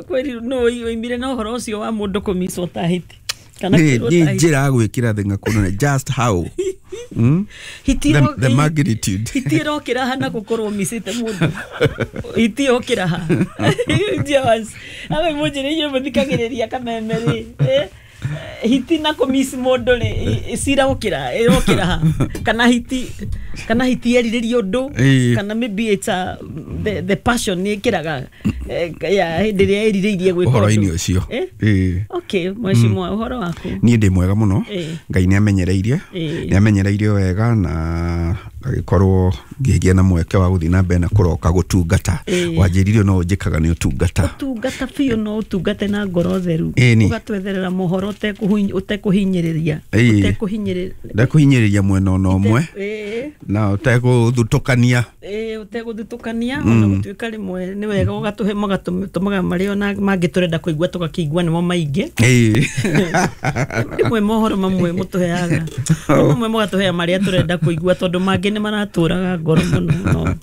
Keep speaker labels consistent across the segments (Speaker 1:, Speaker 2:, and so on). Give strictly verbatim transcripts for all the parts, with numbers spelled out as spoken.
Speaker 1: Kweri no oimire na ũhoro ũcio wa mũndũ kũmicwo ta hiti kana
Speaker 2: Nĩ
Speaker 1: kwĩrwo
Speaker 2: nĩ
Speaker 1: ta hiti.
Speaker 2: njĩra ya gwĩkĩra thĩng'a kũnene, just how mm?
Speaker 1: Hiti
Speaker 2: the,
Speaker 1: ĩro-
Speaker 2: the magnitude.
Speaker 1: Hiti ĩrokĩra ha na gũkorwo micĩte mũndũ? Hiti yokĩra ha? Jawas awe mũnjĩre inyuĩ mũthikagĩrĩria kameme rĩ, eh, hiti na kũmici mũndũ rĩ, i- cira gũkĩra ĩrokĩra ha? Kana hiti, kana hiti erirĩria ũndũ,
Speaker 2: Ĩĩ.
Speaker 1: kana maybe it's a, the, the passion nĩ ĩkĩraga, eh, ya hĩndĩ ĩrĩa ĩrirĩirie gwĩka
Speaker 2: ũhoro-inĩ
Speaker 1: ũndũ.
Speaker 2: Ũcio.
Speaker 1: Eh?
Speaker 2: Ĩĩ.
Speaker 1: Okay, mheshimiwa, ũhoro waku?
Speaker 2: Niĩ ndĩ mwega mũno.
Speaker 1: Ĩĩ.
Speaker 2: Ngai nĩ amenyereirie,
Speaker 1: Ĩĩ.
Speaker 2: nĩ amenyereirie wega na ngagĩkorwo ngĩgĩa na mweke wa gũthiĩ na mbere na kũroka gũtungata.
Speaker 1: Ĩĩ.
Speaker 2: Wanjĩrire no ũnjĩkaga nĩ ũtungata.
Speaker 1: Ũtungata biũ, no ũtungate na ngoro theru.
Speaker 2: Ĩni.
Speaker 1: Ũgatwetherera mohoro ũtekũhu- ũtekũhinyĩrĩria.
Speaker 2: Ĩĩ.
Speaker 1: Ũtekũhinyĩrĩria.
Speaker 2: Ndekũhinyĩrĩria mwena ona ũmwe
Speaker 1: Ĩĩ.
Speaker 2: na ũtegũthutũkania.
Speaker 1: Ĩĩ, ũtegũthutũkania, ona gũtuĩka rĩmwe nĩ wega ũgatũhe, magatũmaga marĩa ona mangĩ tũrenda kũigua tũgakĩigua nĩmo maingĩ.
Speaker 2: Ĩĩ.
Speaker 1: Rĩmwe mohoro mamwe mũtũheaga, mamwe mũgatũhea marĩa tũrenda kũigua, tondũ mangĩ nĩ maratũraga ngoro mũno, no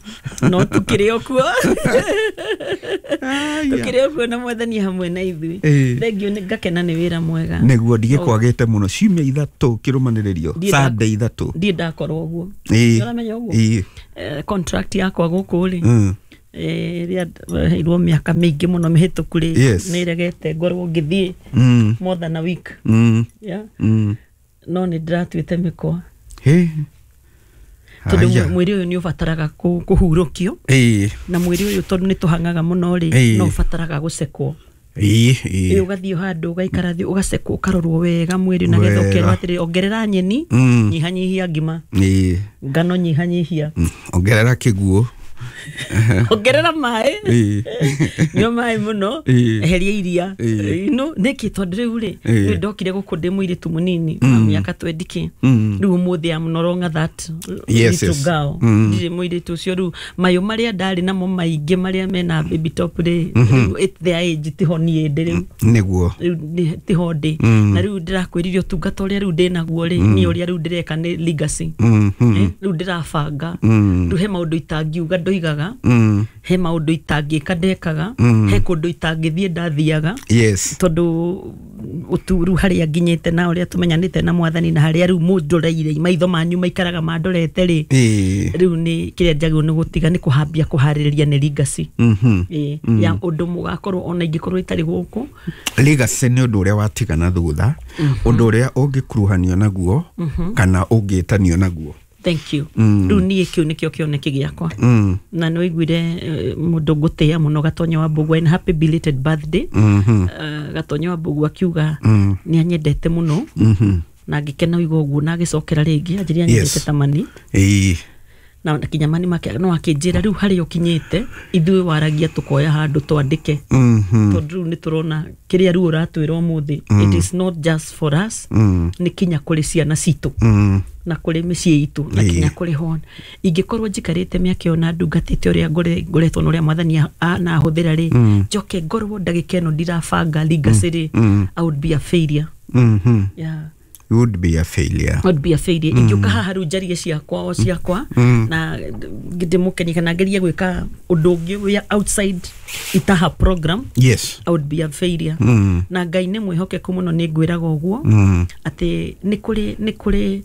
Speaker 1: no tũkĩrĩ o kuo, tũkĩrĩ o kuo na Mwathani hamwe na ithuĩ.
Speaker 2: Ĩĩ.
Speaker 1: Thengiũ, nĩ ngakena nĩ wĩra mwega.
Speaker 2: Nĩguo ndigĩkwagĩte mũno ciumia ithatũ kĩrũmanĩrĩrio.
Speaker 1: Ndiĩ nda-
Speaker 2: Sunday ithatũ.
Speaker 1: Ndiĩ ndakorwo ũguo.
Speaker 2: Ĩĩ.
Speaker 1: Ũramenya ũguo?
Speaker 2: Ĩĩ.
Speaker 1: Eh, contract yakwa gũkũ rĩ,
Speaker 2: Mm.
Speaker 1: eh, ĩrĩa heirwo mĩaka mĩingĩ mũno mĩhĩtũku rĩ,
Speaker 2: Yes.
Speaker 1: nĩ ĩregete ngorwo ngĩthiĩ
Speaker 2: Mm.
Speaker 1: more than a week.
Speaker 2: Mm.
Speaker 1: Yeah.
Speaker 2: Mm.
Speaker 1: No nĩ ndĩratuĩte mĩkwa
Speaker 2: Hĩ.
Speaker 1: tondũ
Speaker 2: Haya.
Speaker 1: mwĩrĩ ũyũ nĩ ũbataraga kũ- kũhurũkio
Speaker 2: Ĩĩ.
Speaker 1: na mwĩrĩ ũyũ, tondũ nĩ tũhang'aga mũno rĩ,
Speaker 2: Ĩĩ.
Speaker 1: no ũbataraga gũcekwo.
Speaker 2: Ĩĩ.
Speaker 1: Ĩ
Speaker 2: Ĩĩ.
Speaker 1: ũgathiĩ handũ ũgaikara thĩ, ũgacekwo, ũkarorwo wega mwĩrĩ na getha
Speaker 2: Wega.
Speaker 1: ũkerwo atĩrĩ, ongerera nyeni,
Speaker 2: Mm.
Speaker 1: nyihanyihia ngima,
Speaker 2: Ĩĩ.
Speaker 1: ngano nyihanyihia.
Speaker 2: Mm. Ongerera kĩguũ.
Speaker 1: Ongerera maĩ.
Speaker 2: Ĩĩ.
Speaker 1: Nyua maĩ mũno.
Speaker 2: Ĩĩ.
Speaker 1: Eheria iria.
Speaker 2: Ĩĩ.
Speaker 1: No nĩkĩ? Tondũ rĩu rĩ,
Speaker 2: Ĩĩ.
Speaker 1: rĩu ndokire gũkũ ndĩ mũirĩtu mũnini wa mĩaka twendi
Speaker 2: Mm.
Speaker 1: rĩu ũmũthĩ am no longer that
Speaker 2: Yes,
Speaker 1: little
Speaker 2: yes.
Speaker 1: girl.
Speaker 2: Mm.
Speaker 1: Ndirĩ mũirĩtu ũcio rĩu. Mayũ marĩa ndarĩ namo maingĩ marĩa mena baby top rĩ, rĩu at their age tiho niĩ ndĩ rĩu.
Speaker 2: Nĩguo.
Speaker 1: Rĩu nĩ- tiho ndĩ.
Speaker 2: Mm.
Speaker 1: Na rĩu ndĩrakwĩrire ũtungata ũrĩa rĩu ndĩnaguo rĩ, niĩ ũrĩa rĩu ndĩreka nĩ legacy.
Speaker 2: Mm. Mm.
Speaker 1: Eh, rĩu ndĩrabanga.
Speaker 2: Mm.
Speaker 1: Rĩu he maũndũ itangiuga ndoigaga,
Speaker 2: Mm.
Speaker 1: he maũndũ itangĩka ndekaga,
Speaker 2: Mm.
Speaker 1: he kũndũ itangĩthiĩ ndathiaga,
Speaker 2: Yes.
Speaker 1: tondũ ũturu harĩa nginyĩte na ũrĩa tũmenyanĩte na Mwathani na harĩa rĩu mũndoreire, maitho manyu maikaraga mandorete rĩ,
Speaker 2: Ĩĩ.
Speaker 1: rĩu nĩ kĩrĩa njagĩrĩirwo nĩ gũtiga nĩ kũhambia kũharĩrĩria nĩ legacy.
Speaker 2: Mhm.
Speaker 1: Ĩĩ, ya ũndũ mũgakorwo ona ingĩkorwo itarĩ gũkũ.
Speaker 2: Legacy nĩ ũndũ ũrĩa watigana thutha, ũndũ ũrĩa ũngĩkuruhanio naguo kana ũngĩtanio naguo.
Speaker 1: Thank you.
Speaker 2: Mm.
Speaker 1: Rĩu niĩ kĩu nĩkĩo kĩoneki gĩakwa.
Speaker 2: Mm.
Speaker 1: Na nĩ waiguire, eh, mũndũ ngũtĩĩa mũno, Gatonyo wa Mbũgua, and happy belated birthday.
Speaker 2: Mhm.
Speaker 1: uh, Gatonyo wa Mbũgua akiuga
Speaker 2: Mm.
Speaker 1: nĩ anyendete mũno,
Speaker 2: Mhm.
Speaker 1: na ngĩkena ũigua ũguo, na agĩcokera rĩngĩ anjĩria anyendete
Speaker 2: Yes.
Speaker 1: ta mani.
Speaker 2: Ĩĩ.
Speaker 1: Na kinya mani make no akĩnjĩra rĩu harĩa ũkinyĩte ithuĩ waragia tũkoya handũ twandĩke,
Speaker 2: Mhm.
Speaker 1: tondũ rĩu nĩ tũrona kĩrĩa rĩu ũratwĩra ũmũthĩ, it is not just for us,
Speaker 2: Mm.
Speaker 1: nĩ kinya kũrĩ ciana citũ
Speaker 2: Mm.
Speaker 1: na kũrĩ mĩciĩ itũ na
Speaker 2: Ĩĩ.
Speaker 1: kinya kũrĩ hon ingĩkorwo njikarĩte mĩaka ĩyo na ndungatĩte ũrĩa ngore- ngoretwo na ũrĩa Mwathani a- a- na ahũthĩra rĩ, njoke ngorwo ndagĩka ĩno ndirabanga legacy rĩ,
Speaker 2: Mm.
Speaker 1: I would be a failure.
Speaker 2: Mhm.
Speaker 1: Yeah.
Speaker 2: You would be a failure.
Speaker 1: I would be a failure ingĩũka haha rĩu njarie ciakwa o ciakwa
Speaker 2: Mm.
Speaker 1: na ndĩmũkenie kana ngerie gwĩka ũndũ ũngĩ wĩ outside itaha program.
Speaker 2: Yes.
Speaker 1: I would be a failure.
Speaker 2: Mm.
Speaker 1: Na Ngai nĩ mwĩhokeku mũno, nĩ ngwĩraga ũguo
Speaker 2: Mm.
Speaker 1: atĩ nĩ kũrĩ nĩ kũrĩ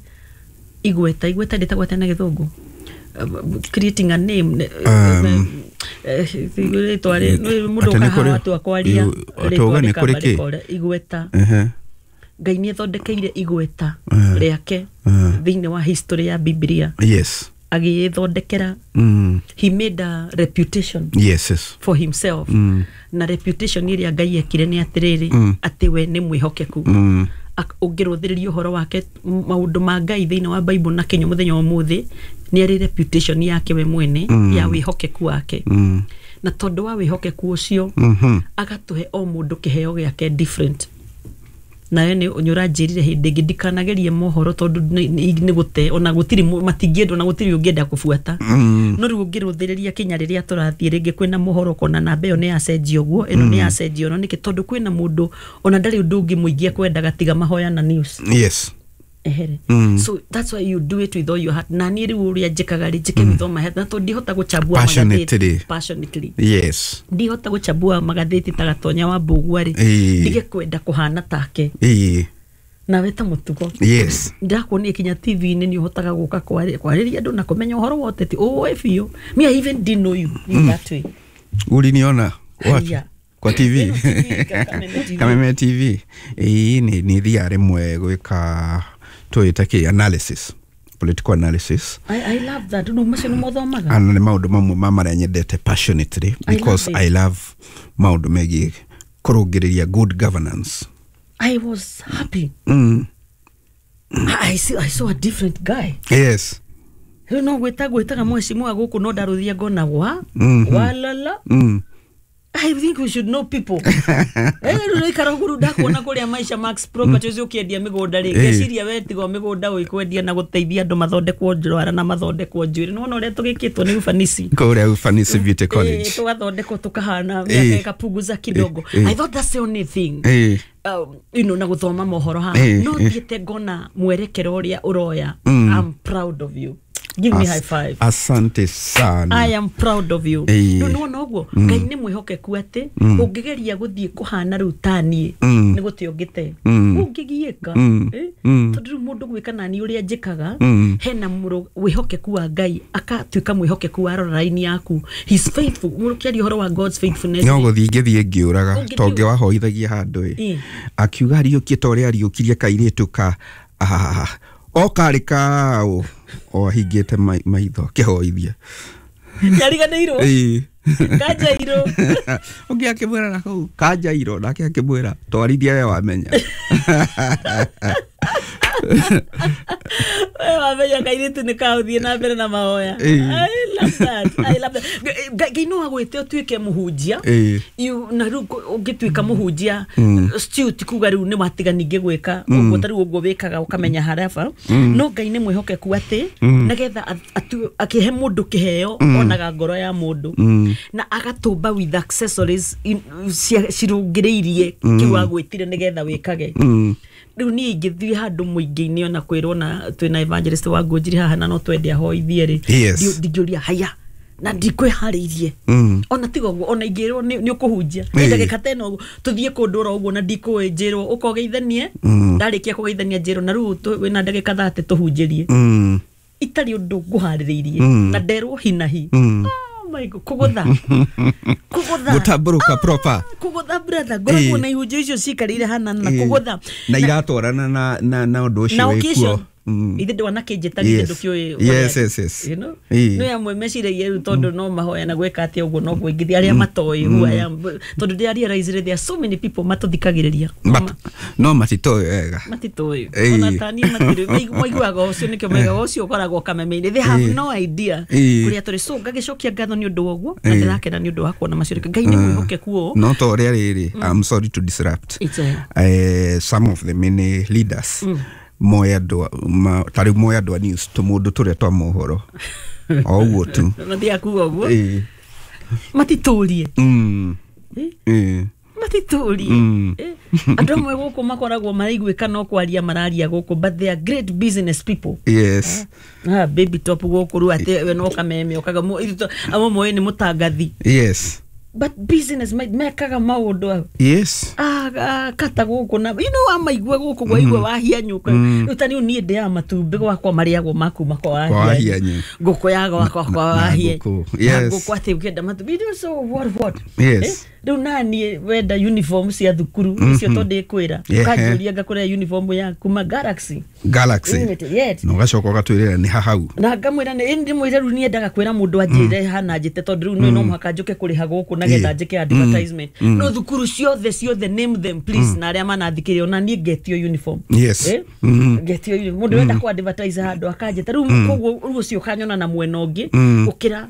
Speaker 1: igweta, igweta ndĩtagwo atĩa na Gĩthũngũ? Uh, creating a name.
Speaker 2: Um,
Speaker 1: Eh, rĩtwa rĩ- nĩ mũndũ
Speaker 2: Atĩ nĩ
Speaker 1: ũkaha
Speaker 2: kũrĩ-
Speaker 1: watu akwaria
Speaker 2: Yu-
Speaker 1: rĩtwa
Speaker 2: atauga nĩ
Speaker 1: rĩkamba
Speaker 2: kũrĩ kĩ?
Speaker 1: rĩkora. Igweta.
Speaker 2: Ehe.
Speaker 1: Ngai nĩ athondekeire igweta
Speaker 2: Eh.
Speaker 1: rĩake
Speaker 2: Eh.
Speaker 1: thĩinĩ wa history ya Biblia,
Speaker 2: Yes.
Speaker 1: agĩĩthondekera.
Speaker 2: Mm.
Speaker 1: He made a reputation
Speaker 2: Yes, yes.
Speaker 1: for himself.
Speaker 2: Mm.
Speaker 1: Na reputation ĩrĩa Ngai ekire nĩ atĩrĩrĩ,
Speaker 2: Mm.
Speaker 1: atĩ we nĩ mwĩhokeku.
Speaker 2: Mm.
Speaker 1: Ak- ũngĩrũthĩrĩria ũhoro wake, m- maũndũ ma Ngai thĩinĩ wa Bible na kĩnyũ mũthenya wa ũmũthĩ, nĩ arĩ reputation yake we mwene
Speaker 2: Mm.
Speaker 1: ya wĩhokeku wake.
Speaker 2: Mm.
Speaker 1: Na tondũ wa wĩhokeku ũcio,
Speaker 2: Mhm.
Speaker 1: agatũhe o mũndũ kĩheo gĩake different. Nawe nĩ nĩ ũranjĩrire hĩndĩ ĩngĩ ndikanagerie mohoro tondũ nĩ- nĩ nĩ gũte ona gũtirĩ mũ- matingĩenda, ona gũtirĩ ũngĩenda kũbuata.
Speaker 2: Mm.
Speaker 1: No rĩu ũngĩrũthĩrĩria kinya rĩrĩa tũrathiĩ rĩngĩ kwĩna mohoro, ũkona namba ĩyo nĩ yacenjio ũguo, ĩno nĩ yacenjio. No nĩkĩ? Tondũ kwĩna mũndũ ona ndarĩ ũndũ ũngĩ mũingĩ ekwendaga tiga mahoya na news.
Speaker 2: Yes.
Speaker 1: Ehere.
Speaker 2: Mm.
Speaker 1: So that's why you do it with all your heart. Na niĩ rĩu ũrĩa njĩkaga rĩ, njĩke with all my heart, na tondũ ndihota gũchambua
Speaker 2: Passionately.
Speaker 1: magathĩti passionately,
Speaker 2: Yes.
Speaker 1: ndihota gũchambua magathĩti ta Gatonya wa Mbũgua rĩ,
Speaker 2: Ĩĩ.
Speaker 1: ndige kwenda kũhana take.
Speaker 2: Ĩĩ.
Speaker 1: Nawe ta mũtugo,
Speaker 2: Yes.
Speaker 1: ndĩrakuonia kinya T V-inĩ nĩ ũhotaga gũka kwarĩ- kwarĩria andũ na kũmenya ũhoro wa ũteti ũĩ biũ. Me, I even didn't know you in that way.
Speaker 2: Uliniona wapi?
Speaker 1: Haya.
Speaker 2: Kwa T V?
Speaker 1: Ĩno T V, Kameme T V.
Speaker 2: Kameme T V. Ĩĩ, nĩ nĩ thiaga rĩmwe gwĩka tũĩte kĩ analysis, political analysis.
Speaker 1: I, I love that. Rĩu macio nĩ mothomaga.
Speaker 2: Ana nĩ maũndũ mamwe ma marĩa nyendete passionately
Speaker 1: I
Speaker 2: because
Speaker 1: love it.
Speaker 2: I love maũndũ megiĩ kũrũngĩrĩria good governance.
Speaker 1: I was happy.
Speaker 2: mm.
Speaker 1: I, see, I saw a different guy.
Speaker 2: Yes.
Speaker 1: Rĩu no gwĩta gwĩtaga mheshimiwa gũkũ, no ndarũthia ngona wa
Speaker 2: Mhm.
Speaker 1: walala.
Speaker 2: mm.
Speaker 1: I think we should know people. Eh, rĩu rĩikara ũguo, rĩu ndakuona kũrĩa Maisha Max Properties ũkĩendia mĩgũnda rĩ,
Speaker 2: Eh.
Speaker 1: ngeciria we tiga o mĩgũnda ũikwendia na gũteithia andũ mathondekwo ndwara na mathondekwo njuĩrĩ. Nĩwona ũrĩa tũgĩkĩtwo nĩ ufanisi.
Speaker 2: Kũrĩa Ufanisi Beauty College.
Speaker 1: Eh, tũgathondekwo tũkahana
Speaker 2: Eh.
Speaker 1: mĩaka ĩkapunguza kidogo.
Speaker 2: Eh, eh.
Speaker 1: I thought that's the only thing.
Speaker 2: Ĩĩ.
Speaker 1: Um, you know, na gũthoma mohoro haha,
Speaker 2: Eh,
Speaker 1: no
Speaker 2: eh.
Speaker 1: thiĩte ngona mwerekero ũrĩa ũroya.
Speaker 2: Mm.
Speaker 1: I'm proud of you. Give me
Speaker 2: As-
Speaker 1: high five.
Speaker 2: Asante sana.
Speaker 1: I am proud of you.
Speaker 2: Ĩĩ.
Speaker 1: Rĩu nĩwona ũguo Ngai nĩ mwĩhokeku atĩ ũngĩgeria gũthiĩ kũhana rĩu taniĩ,
Speaker 2: Mm.
Speaker 1: nĩ gũte ũngĩte,
Speaker 2: Mm.
Speaker 1: ũngĩgiĩka.
Speaker 2: Mm.
Speaker 1: Eh?
Speaker 2: Mm.
Speaker 1: Tondũ rĩu mũndũ gwĩka nani ũrĩa njĩkaga,
Speaker 2: Mm.
Speaker 1: hena mũrũ wĩhokeku wa Ngai, akatuĩka mwĩhokeku wa rora raini yaku. He's faithful. Mũndũ kĩaria ũhoro wa God's faithfulness.
Speaker 2: No gũthiĩ ngĩthiĩ ngĩũraga.
Speaker 1: Ũngĩthiĩ-
Speaker 2: Tongĩ wahoithagia handũ ĩ,
Speaker 1: Ĩ.
Speaker 2: akiuga ariũkie ta ũrĩa ariũkirie kairĩtu ka ah, o karĩ kaũ o ahingĩte mai- maitho akĩhoithia.
Speaker 1: Nĩariganĩirwo.
Speaker 2: Ĩ.
Speaker 1: Kanjairũ.
Speaker 2: Ũngĩ akĩmwĩra na kũu kanjairũ, nake akĩmwĩra twarithia we wamenya.
Speaker 1: We wamenya kairĩtu nĩ kaũthiĩ na mbere na mahoya.
Speaker 2: Ĩ.
Speaker 1: I love that. I love that. Ngai Ngai no agwĩte ũtuĩke mũhunjia.
Speaker 2: Ĩ.
Speaker 1: You- na rĩu kũ- ũngĩtuĩka mũhunjia still ti kuga rĩu nĩ watiga ningĩ gwĩka ũguo, ta rĩu ũguo wĩkaga ũkamenya harĩa ba. No Ngai nĩ mwĩhokeku atĩ nĩgetha a- atu- akĩhe mũndũ kĩheo, onaga ngoro ya mũndũ na agatũmba with accessories in- cia- cirũngĩrĩirie kĩu agwĩtire nĩgetha wĩkage.
Speaker 2: Mm.
Speaker 1: Rĩu niĩ ingĩthiĩ handũ mũingĩ-inĩ ona kwĩrwo na twĩna evangelist wa Ngũnjiri haha na no twende ahoithie rĩ,
Speaker 2: Yes.
Speaker 1: ndi- ndingĩũria haya na ndikwĩharĩirie.
Speaker 2: Mm.
Speaker 1: Ona tiga ũguo, ona ingĩrwo nĩ nĩ ũkũhunjia
Speaker 2: Ĩĩ.
Speaker 1: ndagĩka ta ĩno ũguo, tũthiĩ kũndũ oro ũguo na ndikũĩ, njĩrwo ũkogeithanie, ndarĩkia kũgeithania njĩrwo na rĩu tũ- wĩna ndagĩka thate tũhunjĩrie,
Speaker 2: Mm.
Speaker 1: itarĩ ũndũ ngũharĩrĩirie
Speaker 2: Mm.
Speaker 1: na nderwo hinahi.
Speaker 2: Mm.
Speaker 1: Oh my God, kũgũtha kũgũtha.
Speaker 2: Gũtambũrũka proper.
Speaker 1: Kũgũtha, brother, ngoragwo
Speaker 2: Ĩĩ.
Speaker 1: na ihunjio icio cikarĩire hana na
Speaker 2: Ĩĩ.
Speaker 1: kũgũtha.
Speaker 2: Na iratwarana na na na ũndũ ũcio
Speaker 1: Na
Speaker 2: wĩkuo.
Speaker 1: occasion.
Speaker 2: Mm.
Speaker 1: Ithe ndwanakĩnjĩta githĩ
Speaker 2: Yes.
Speaker 1: ndũkĩũĩ.
Speaker 2: Yes, yes, yes.
Speaker 1: You know?
Speaker 2: Ĩĩ.
Speaker 1: No amwe meciragia rĩu tondũ no mahoya na gwĩka atĩa ũguo noguo ingĩthiĩ arĩa matoĩ who I am, tondũ ndĩ realize there are so many people matũthikagĩrĩria.
Speaker 2: But no matitoĩ wega.
Speaker 1: Matitoĩ.
Speaker 2: Ĩĩ.
Speaker 1: Ona tani matirĩ maiguaga ũcio, nĩkĩo maigaga ũcio ũkoragwo kameme-inĩ. They have
Speaker 2: Ĩĩ.
Speaker 1: no idea
Speaker 2: Ĩĩ.
Speaker 1: kũrĩa tũrĩ. So ngagĩcokia ngatho nĩ ũndũ wa ũguo na
Speaker 2: Ĩĩ.
Speaker 1: ndĩrakena nĩ ũndũ wa kuona macio. Ngai nĩ mwĩhokeku ũũ.
Speaker 2: No ta ũrĩa rĩrĩ, I'm sorry to disrupt.
Speaker 1: It's a-
Speaker 2: eh, some of the many leaders moe andũ a- ma- ta rĩu moe andũ a news tũmũndũ tũrĩa twa mohoro o ũguo tu.
Speaker 1: Mathiaga kuga ũguo.
Speaker 2: Ĩĩ.
Speaker 1: Matitũrie.
Speaker 2: Mm.
Speaker 1: Eh?
Speaker 2: Ĩĩ.
Speaker 1: Matitũrie.
Speaker 2: Mm.
Speaker 1: Eh, andũ amwe gũkũ makoragwo maraiguĩka no kwaria mararia gũkũ, but they are great business people.
Speaker 2: Yes.
Speaker 1: Ah, baby top gũkũ rĩu atĩ we no kameme okaga mu- ithuĩ amwe moĩ nĩ mũtangathi,
Speaker 2: Yes.
Speaker 1: but business ma- mekaga maũndũ au.
Speaker 2: Yes.
Speaker 1: Ah, ah, kata gũkũ na you know amaigua gũkũ gwaigua wahianyũka. Rĩu ta rĩu niĩ ndĩaga matumbĩ gwakwa marĩagwo makuma kwa
Speaker 2: Kwa
Speaker 1: wahianyũ.
Speaker 2: Wahianyũ.
Speaker 1: Ngũkũ ya gwakwa kwa
Speaker 2: Na- na
Speaker 1: wahia
Speaker 2: ngũkũ.
Speaker 1: na
Speaker 2: Yes.
Speaker 1: ngũkũ atĩ ũkĩenda matumbĩ, you know, so what what
Speaker 2: Yes.
Speaker 1: Eh, rĩu naniĩ wenda uniform cia thukuru icio tondũ ndĩkwĩra,
Speaker 2: Ehe.
Speaker 1: ũkanjũria ngakũrĩa uniform ya kuma Galaxy
Speaker 2: Galaxy.
Speaker 1: Limited, yes.
Speaker 2: Na ũgacoka ũgatwĩrĩra nĩ hahau.
Speaker 1: Na ngamwĩra nĩ ndĩmwĩre rĩu niendaga kwĩra mũndũ anjĩre hana njĩte, tondũ rĩu nĩ no mũhaka njũke kũrĩha gũkũ nagetha
Speaker 2: Ĩĩ.
Speaker 1: njĩke advertisement. No thukuru ciothe ciothe, name them please, na arĩa manathikĩrĩria, ona niĩ ngetio uniform.
Speaker 2: Yes.
Speaker 1: Eh?
Speaker 2: Mm.
Speaker 1: Ngetio uniform. Mũndũ wenda kũ advertise handũ akanjĩta rĩu, koguo rĩu ũcio ũkanyona na mwena ũngĩ gũkĩra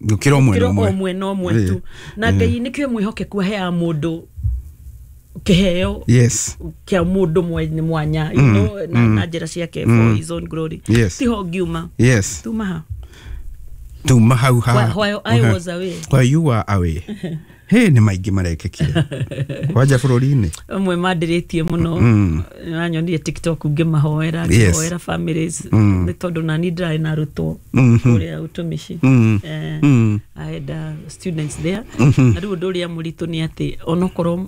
Speaker 2: gũkĩra o mwena
Speaker 1: gũkĩra o
Speaker 2: ũmwe.
Speaker 1: mwena ũmwe
Speaker 2: Ĩĩ.
Speaker 1: tu. Na Ngai nĩkĩo mwĩhokeku aheaga mũndũ kĩheo
Speaker 2: Yes.
Speaker 1: kĩa mũndũ mwenye mwanya, you know, na, na njĩra ciake for his own glory.
Speaker 2: Yes.
Speaker 1: Tiho ngiuma.
Speaker 2: Yes.
Speaker 1: Tuma ha.
Speaker 2: Tuma hau ha.
Speaker 1: While- while I was away.
Speaker 2: While you were away. Hĩ, nĩ maingĩ marekĩkire kwanja bũrũri-inĩ.
Speaker 1: Amwe mandirĩtie mũno.
Speaker 2: Mm.
Speaker 1: Nanyonire TikTok ngĩmahoera,
Speaker 2: Yes.
Speaker 1: ngĩhoera families,
Speaker 2: Mm.
Speaker 1: nĩ tondũ nani ndĩrarĩ na arutwo
Speaker 2: Mhm.
Speaker 1: kũrĩa ũtũmici.
Speaker 2: Mm.
Speaker 1: Eh,
Speaker 2: Mm.
Speaker 1: I had uh, students there.
Speaker 2: Mhm.
Speaker 1: Na rĩu ũndũ ũrĩa mũritũ nĩ atĩ onokorwo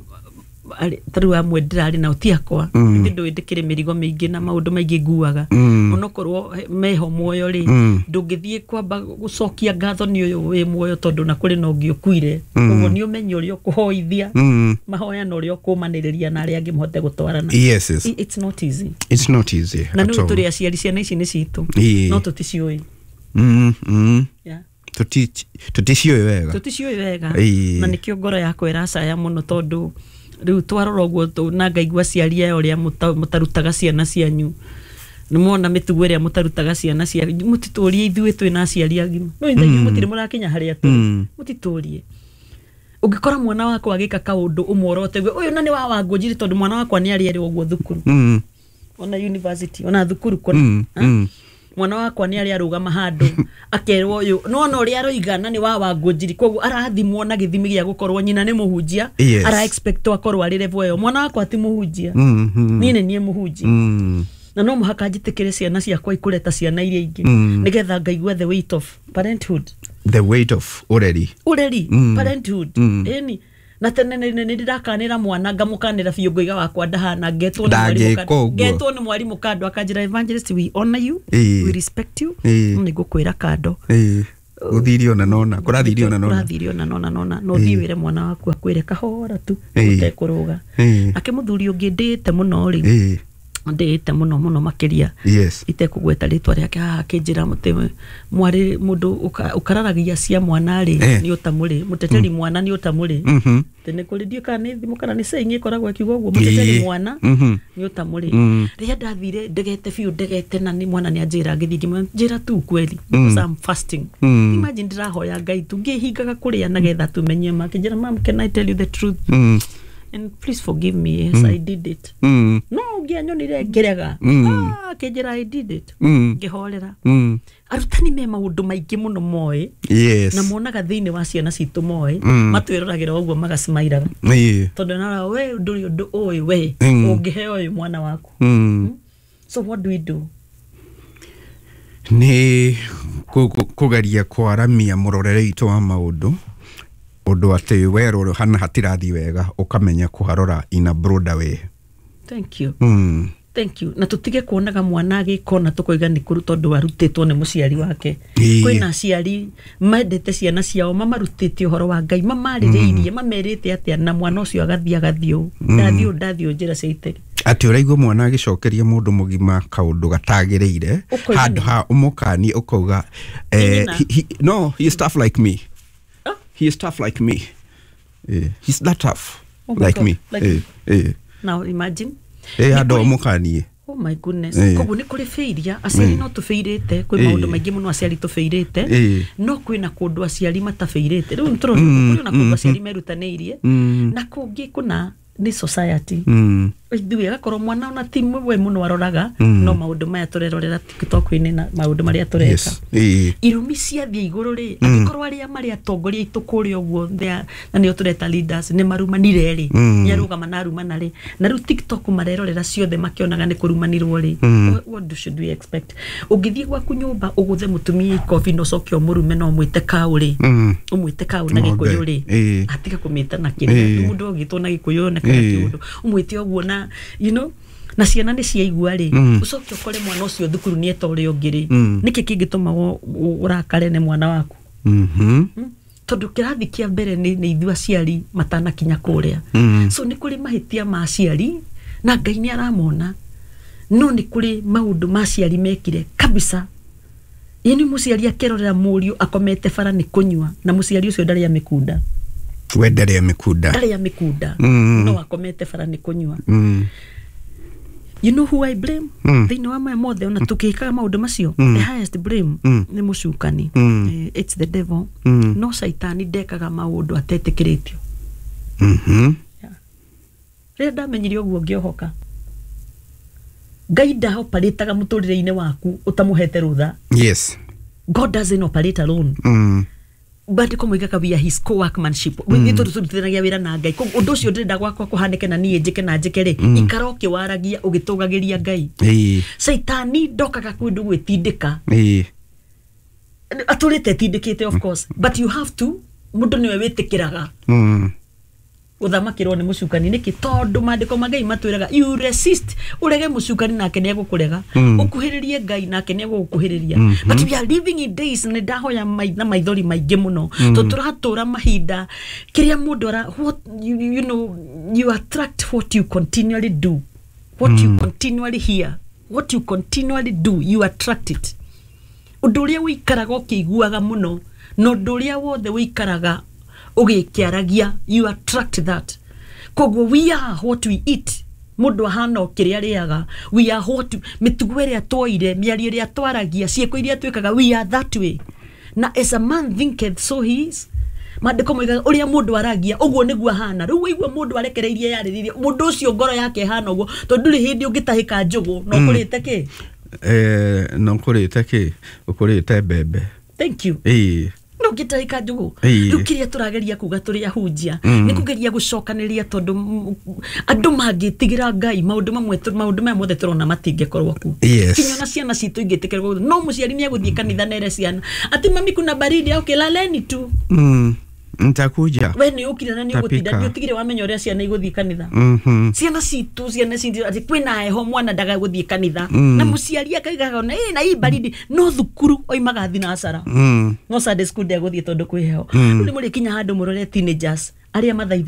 Speaker 1: arĩ- ta rĩu amwe ndĩrarĩ nao ti akwa,
Speaker 2: Mm.
Speaker 1: mm. ndũĩ ndĩkĩrĩ mĩrigo mĩingĩ na maũndũ maingĩ nguaga.
Speaker 2: Mm.
Speaker 1: Onokorwo he- meho muoyo rĩ,
Speaker 2: Mm.
Speaker 1: ndũngĩthiĩ kwamba gũcokia ngatho nĩ ũyũ wĩ muoyo, tondũ na kũrĩ na ũngĩ ũkuire.
Speaker 2: Mm.
Speaker 1: Koguo nĩ ũmenye ũrĩa ũkũhoithia
Speaker 2: Mm.
Speaker 1: mahoya na ũrĩa ũkũmanĩrĩria na arĩa angĩ mũhote gũtwarana.
Speaker 2: Yes, yes.
Speaker 1: I- it's not easy.
Speaker 2: It's not easy
Speaker 1: Na
Speaker 2: at
Speaker 1: nĩ
Speaker 2: all.
Speaker 1: tũrĩ aciari, ciana ici nĩ citũ,
Speaker 2: Ĩĩ.
Speaker 1: no tũticiũĩ.
Speaker 2: Mm, mm.
Speaker 1: Yeah.
Speaker 2: Tũti- tũticiũĩ wega.
Speaker 1: Tũticiũĩ wega.
Speaker 2: Ĩĩ.
Speaker 1: Na nĩkĩo ngoro yakwa ĩracaya mũno, tondũ rĩu twarora ũguo tũ- na ngaigua aciari aya ũrĩa mũta- mũtarutaga ciana cianyu, nĩmwona mĩtugo ĩrĩa mũtarutaga ciana cianyu. Mũtitũrie ithuĩ twĩna aciari agima, no ithuĩ mũtirĩ mũrakinya harĩa tũrĩ.
Speaker 2: Mm.
Speaker 1: Mũtitũrie ũngĩkora mwana wakwa agĩka kaũndũ ũmworote ũguo, ũyũ na nĩ wa Wangũnjiri, tondũ mwana wakwa nĩ arĩ erĩ ũguo thukuru,
Speaker 2: Mm.
Speaker 1: ona university, ona thukuru kũna.
Speaker 2: Mm,
Speaker 1: Ha?
Speaker 2: mm.
Speaker 1: Mwana wakwa nĩ arĩ arũgama handũ akerwo ũyũ nona ũrĩa aroiga na nĩ wa Wangũnjiri, koguo arathimwo na gĩthimi gĩa gũkorwo nyina nĩ mũhunjia.
Speaker 2: Yes.
Speaker 1: Ara expect akorwo arĩ level ĩyo. Mwana wakwa ti mũhunjia.
Speaker 2: Mm, mm.
Speaker 1: Niĩ nĩ niĩ mũhunjia.
Speaker 2: Mm.
Speaker 1: Na no mũhaka njĩtĩkĩre ciana ciakwa ikũre ta ciana iria ingĩ,
Speaker 2: Mm.
Speaker 1: nĩgetha ngaigua the weight of parenthood.
Speaker 2: The weight of ũreri.
Speaker 1: Ũreri.
Speaker 2: Mm.
Speaker 1: Parenthood.
Speaker 2: Mm.
Speaker 1: Ĩni na tene nĩ nĩ ndĩrakanĩra mwana, ngamũkanĩra biũ, ngoiga wakwa ndahana, ngetwo nĩ mwarimũ
Speaker 2: Ndangĩka
Speaker 1: kando-
Speaker 2: ũguo.
Speaker 1: ngetwo nĩ mwarimũ kando akanjĩra, "Evangelist, we honor you,
Speaker 2: Ĩĩ.
Speaker 1: we respect you,
Speaker 2: Ĩĩ.
Speaker 1: no nĩ ngũkwĩra kando."
Speaker 2: Ĩĩ. Gũthirie ona nona kũrathirie ona nona.
Speaker 1: Kũrathirie ona nona nona no thiĩ wĩre mwana waku akwĩre kahora tu
Speaker 2: Ĩĩ.
Speaker 1: ũtekũrũga.
Speaker 2: Ĩĩ.
Speaker 1: Ake mũthuri ũngĩ ndĩĩte mũno rĩ,
Speaker 2: Ĩĩ.
Speaker 1: ndĩĩte mũno mũno makĩria,
Speaker 2: Yes.
Speaker 1: itekũgweta rĩtwa rĩake haha, akĩnjĩra mũtĩ mwarĩ mũndũ ũka- ũkararagia cia mwana rĩ,
Speaker 2: Eh.
Speaker 1: nĩ ũtamũrĩ mũteteri mwana, nĩ ũtamũrĩ.
Speaker 2: Mhm.
Speaker 1: Tene kũrĩ ndiũ kana nĩ thimũ kana nĩ saying ĩkoragwo ĩkiuga ũguo, mũteteri
Speaker 2: Ĩĩ.
Speaker 1: mwana
Speaker 2: Mhm.
Speaker 1: nĩ ũtamũrĩ.
Speaker 2: Mm.
Speaker 1: Rĩrĩa ndathire ndegete biũ, ndegete, na nĩ mwana nĩ anjĩra, ngĩthiĩ ngĩmwĩra, njĩra tu kweli, because I'm fasting.
Speaker 2: Mm.
Speaker 1: Imagine, ndĩrahoya Ngai tu ngĩhingaga kũrĩa nagetha tumenye ma. Akĩnjĩra, "Mam, can I tell you the truth?
Speaker 2: Mm.
Speaker 1: And please forgive me. Yes, I did it."
Speaker 2: Mm.
Speaker 1: No ũngĩanyonire ngĩrega.
Speaker 2: Mm.
Speaker 1: Ah, akĩnjĩra, "I did it."
Speaker 2: Mm.
Speaker 1: Ngĩhorera.
Speaker 2: Mm.
Speaker 1: Arutani me maũndũ maingĩ mũno moĩ
Speaker 2: Yes.
Speaker 1: na monaga thĩinĩ wa ciana citũ moĩ.
Speaker 2: Mm.
Speaker 1: Matwĩroragĩra ũguo magasmairaga,
Speaker 2: Ĩĩ.
Speaker 1: tondũ nara we ndũrĩ ũndũ ũĩ we
Speaker 2: Mm.
Speaker 1: ũngĩheo ũyũ mwana waku.
Speaker 2: Mm.
Speaker 1: So what do we do?
Speaker 2: Nĩ kũ- kũ- kũgeria kwaramia mũrorere witũ wa maũndũ, ũndũ atĩ werwo hana hatirathiĩ wega, ũkamenya kũharora in a broader way.
Speaker 1: Thank you.
Speaker 2: Mm.
Speaker 1: Thank you. Na tũtige kuonaga mwana agĩkona tũkoiga nĩ kũru tondũ arutĩtwo nĩ mũciari wake.
Speaker 2: Ĩĩ.
Speaker 1: Kwĩna aciari mendete ciana ciao, mamarutĩte ũhoro wa Ngai, mamarĩrĩirie, mamerĩte atĩa, na mwana ũcio agathiĩ agathiĩ ũũ, ndathiĩ ũũ, ndathiĩ ũũ njĩra cia itegi.
Speaker 2: Atĩ ũraigua mwana agĩcokeria mũndũ mũgima kaũndũ gatagĩrĩire,
Speaker 1: Ũkoiga
Speaker 2: handũ
Speaker 1: nĩ-
Speaker 2: ha ũmũkanie ũkauga,
Speaker 1: Nĩ
Speaker 2: eh,
Speaker 1: nyina.
Speaker 2: he, he, no, he is tough like me.
Speaker 1: Ah?
Speaker 2: He is tough like me. Eh, he's that tough
Speaker 1: Oh my
Speaker 2: like
Speaker 1: God,
Speaker 2: me.
Speaker 1: like
Speaker 2: eh, eh.
Speaker 1: Now imagine.
Speaker 2: Eh,
Speaker 1: Nĩ
Speaker 2: handũ
Speaker 1: kũrĩ-
Speaker 2: ũmũkanie.
Speaker 1: Oh my goodness.
Speaker 2: Ĩĩ.
Speaker 1: Koguo nĩ kũrĩ failure, aciari no tũbĩirĩte, kwĩ
Speaker 2: Ĩĩ.
Speaker 1: maũndũ maingĩ mũno aciari tũbĩirĩte.
Speaker 2: Ĩĩ.
Speaker 1: No kwĩna kũndũ aciari matabĩirĩte. Rĩu nĩtũrona kũrĩ ona kũndũ aciari merutanĩirie,
Speaker 2: Mm.
Speaker 1: na kũngĩ kũna nĩ society.
Speaker 2: Mm.
Speaker 1: Ithuĩ agakorwo mwana ona ti we mũno aroraga,
Speaker 2: Mm.
Speaker 1: no maũndũ maya tũrerorera TikTok-inĩ na maũndũ marĩa tũreka.
Speaker 2: Yes. Ĩĩ.
Speaker 1: Irumi ciathiĩ igũrũ rĩ, angĩkorwo arĩa marĩ atongoria aitũ kũrĩa ũguo they are- na nĩo tũreta leaders, nĩ marumanire rĩ,
Speaker 2: Mm.
Speaker 1: nĩ arũgama na arumana rĩ, na rĩu TikTok marerorera ciothe makĩonaga nĩ kũrumanirwo rĩ,
Speaker 2: Mm.
Speaker 1: what, what do should we expect? Ũngĩthiĩ gwaku nyũmba ũgũthe mũtumia ikobi na ũcoke ũmũrume na ũmwĩte kaũ rĩ,
Speaker 2: Mm.
Speaker 1: ũmwĩte kaũ na
Speaker 2: Ng'ombe.
Speaker 1: gĩkũyũ rĩ,
Speaker 2: Ĩĩ.
Speaker 1: atiga kũmĩta na kĩrĩa
Speaker 2: Ĩĩ.
Speaker 1: mũndũ ũgĩtwo na gĩkũyũ onekaga
Speaker 2: Ĩĩ.
Speaker 1: kĩũndũ, ũmwĩte ũguo na you know na ciana nĩ ciaigua rĩ,
Speaker 2: Mm.
Speaker 1: ũcoke ũkore mwana ũcio thukuru nĩ eta ũrĩa ũngĩ rĩ,
Speaker 2: Mm.
Speaker 1: nĩkĩ kĩngĩtũma wo- wo- ũrakare nĩ mwana waku?
Speaker 2: Mhm.
Speaker 1: Mm? Tondũ kĩrathi kĩa mbere nĩ nĩ ithuĩ aciari matanakinya kũrĩa.
Speaker 2: Mm.
Speaker 1: So nĩ kũrĩ mahĩtia ma aciari na Ngai nĩ aramona, no nĩ kũrĩ maũndũ ma aciari mekire kabisa. Ĩni mũciari akerorera mũriũ akomete bara nĩ kũnyua, na mũciari ũcio ndarĩ amĩkunda.
Speaker 2: We ndarĩ amĩkunda.
Speaker 1: Ndarĩ amĩkunda.
Speaker 2: Mm.
Speaker 1: No akomete bara nĩ kũnyua.
Speaker 2: Mm.
Speaker 1: You know who I blame
Speaker 2: Mm.
Speaker 1: thĩinĩ wa maya mothe, ona tũkĩkaga maũndũ macio?
Speaker 2: Mm.
Speaker 1: The highest blame
Speaker 2: Mm.
Speaker 1: nĩ mũcukani.
Speaker 2: Mm.
Speaker 1: Eh, it's the devil.
Speaker 2: Mm.
Speaker 1: No caitani ndekaga maũndũ atetĩkĩrĩtio.
Speaker 2: Mhm.
Speaker 1: Yeah. Rĩrĩa ndamenyire ũguo ngĩohoka. Ngai ndaoparĩtaga mũtũrĩre-inĩ waku ũtamũhete rũtha.
Speaker 2: Yes.
Speaker 1: God doesn't operate alone.
Speaker 2: Mm.
Speaker 1: Bandĩko moigaga we are his co-workmanship, mm. Tondũ tũrutithanagia wĩra na Ngai. Koguo ũndũ ũcio ndĩrenda gwakwa kũhanĩke na niĩ njĩke na njĩke rĩ, ikara ũkĩwaragia ũgĩtũgagĩria Ngai.
Speaker 2: Ĩĩ.
Speaker 1: Caitani ndokaga kũndũ gwĩtindĩka.
Speaker 2: Ĩĩ.
Speaker 1: Atũrĩte etindĩkĩte, of course, but you have to, mũndũ nĩwe wĩtĩkĩraga
Speaker 2: Mm.
Speaker 1: gũthamakĩrwo nĩ mũcukani. Nĩkĩ? Tondũ maandĩko ma Ngai matwĩraga you resist, ũrege mũcukani nake nĩ egũkũrega,
Speaker 2: Mm.
Speaker 1: ũkuhĩrĩrie Ngai nake nĩ egũgũkuhĩrĩria. But we are living in days, nĩ ndahoya mai- na maithori maingĩ mũno, tondũ tũratũra mahinda kĩrĩa mũndũ ara what you, you know you attract what you continually do, what you continually hear, what you continually do, you attract it. Ũndũ ũrĩa ũikaraga ũkĩiguaga mũno na ũndũ ũrĩa wothe ũikaraga ũgĩkĩaragia, you attract that. Koguo we are what we eat. Mũndũ ahana o kĩrĩa arĩaga. We are what, mĩtugo ĩrĩa twoire, mĩario ĩrĩa twaragia, ciĩko iria twĩkaga, we are that way. Na as a man thinketh, so he is. Maandĩko moigaga ũrĩa mũndũ aragia ũguo nĩguo ahana. Rĩu waigua mũndũ arekereirie yarĩrĩrie mũndũ ũcio, ngoro yake ĩhana ũguo, tondũ ndũrĩ hĩndĩ ũngĩtahĩka njũgũ na ũkũrĩte kĩ.
Speaker 2: Eh, no ũkũrĩte kĩ? Ũkũrĩte mbembe.
Speaker 1: Thank you.
Speaker 2: Ĩĩ.
Speaker 1: No ngĩtahĩka njũgũ.
Speaker 2: Ĩĩ.
Speaker 1: Rĩu kĩrĩa tũrageria kuga tũrĩ ahunjia
Speaker 2: Mm.
Speaker 1: nĩ kũgeria gũcokanĩria, tondũ mm, andũ mangĩtigĩra Ngai, maũndũ mamwe tũ- maũndũ maya mothe tũrona matingĩkorwo ku.
Speaker 2: Yes.
Speaker 1: Kinya ona ciana citũ ingĩtĩkĩrwo, no mũciari nĩ egũthiĩ kanitha nere ciana atĩ mami, kuna baridi, okay, laleni tu.
Speaker 2: Mm. Nitakuja.
Speaker 1: We nĩ ũkire na nĩ ũgũtinda.
Speaker 2: Tapika.
Speaker 1: Nĩ ũtigire wamenya ũrĩa ciana igũthiĩ kanitha.
Speaker 2: Mhm.
Speaker 1: Ciana citũ, ciana citũ atĩ kwĩna heho, mwana ndagagũthiĩ kanitha.
Speaker 2: Mm.
Speaker 1: Na mũciari akaigaga ona ĩ na hii baridi, no thukuru oimaga thinacara,
Speaker 2: Mm.
Speaker 1: no Sunday school ndegũthiĩ tondũ kwĩ heho.
Speaker 2: Mm.
Speaker 1: Rĩu nĩ mũrĩkinya handũ mũrore teenagers arĩa mathaitha.